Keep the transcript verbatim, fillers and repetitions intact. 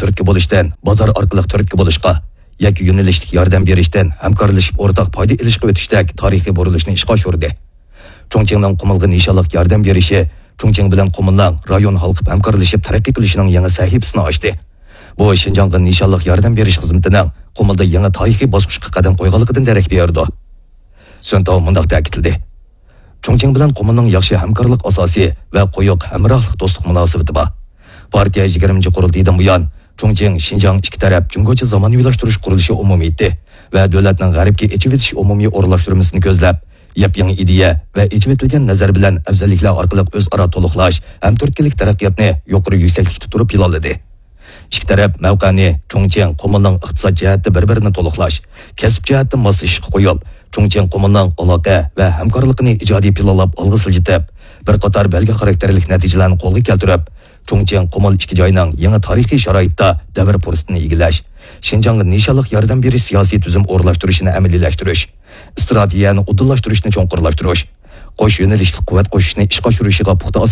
تۈرتكە بولۇشتىن بازار ئارقىلىق تۈرتكە بولۇشقا، يەككە يۆنىلىشلىك ياردەم بېرىشتىن ھەمكارلىشىپ ئورتاق پايدا ئېلىشقا ئۆتۈشتەك تارىخىي بۇرۇلۇشنى ئىشقا ئاشۇردى. چۇڭچىڭنىڭ قۇمۇلغا نىشانلىق ياردەم بېرىشى چۇڭچىڭ بىلەن قۇمۇلنىڭ رايون ھالقىپ ھەمكارلىشىپ تەرەققىي قىلىشىنىڭ يېڭى سەھىپىسىنى ئاچتى. بۇ شىنجاڭغا نىشانلىق ياردەم بېرىش خىزمىتىنىڭ قۇمۇلدا يېڭى تارىخىي باسقۇچقا قەدەم قويغانلىقىدىن دېرەك بېرىدۇ. سۈن تاۋ مۇنداق تەكىتلىدى: چۇڭچىڭ بىلەن قۇمۇلنىڭ ياخشى ھەمكارلىق ئاساسى ۋە قويۇق ھەمراھلىق دوستلۇق مۇناسىۋىتى بار. پارتىيە يىگىرمىنچى قۇرۇلتىيىدىن بۇيان، چۇڭچىڭ شىنجاڭ ئىككى تەرەپ جۇڭگوچە زامانىۋىلاشتۇرۇش قۇرۇلۇشى ئومۇمىيىتى ۋە دۆلەتنىڭ غەربكە ئېچىۋېتىش ئومۇمىي ئورۇنلاشتۇرمىسىنى كۆزلەپ، ياپيېڭى ئىدىيە ۋە ئېچىۋېتىلگەن نەزەر بىلەن ئەۋزەللىكلەر ئارقىلىق ئۆزئارا تولۇقلاش ھەم تۈرتكىلىك تەرەققىياتنى يۇقىرى يۈكسەكلىكتە تۇرۇپ پىلانلىدى. ئىككى تەرەپ مەۋقەنى چۇڭچىڭ، قۇمۇلنىڭ ئىقتىساد جەھەتتە بىر-بىرىنى تولۇقلاش، كەسىپ جەھەتتە ماسلىشىشقا قويۇپ، چۇڭچىڭ، قۇمۇلنىڭ ئالاقە ۋە ھەمكارلىقىنى ئىجادىي پىلانلاپ ئالغا سىلجىتىپ، بىر قاتار بەلگە خاراكتېرلىك نەتىجىلەرنى قولغا كەلتۈرۈپ، چۇڭچىڭ، قۇمۇل ئىككى جاينىڭ يېڭى تارىخىي شارائىتتا دەۋر پۇرسىتىنى ئىگىلەش، شىنجاڭغا نىشانلىق ياردەم بېرىش سىياسىي تۈزۈم ئورۇنلاشتۇرۇشىنى ئەمەلىيلەشتۈرۈش، ئىستراتېگىيەنى ئۇدۇللاشتۇرۇشنى چوڭقۇرلاشتۇرۇش، قوش يۆنىلىشلىك قۇۋۋەت قوشۇشنى ئىشقا ئاشۇرۇشىغا پۇختا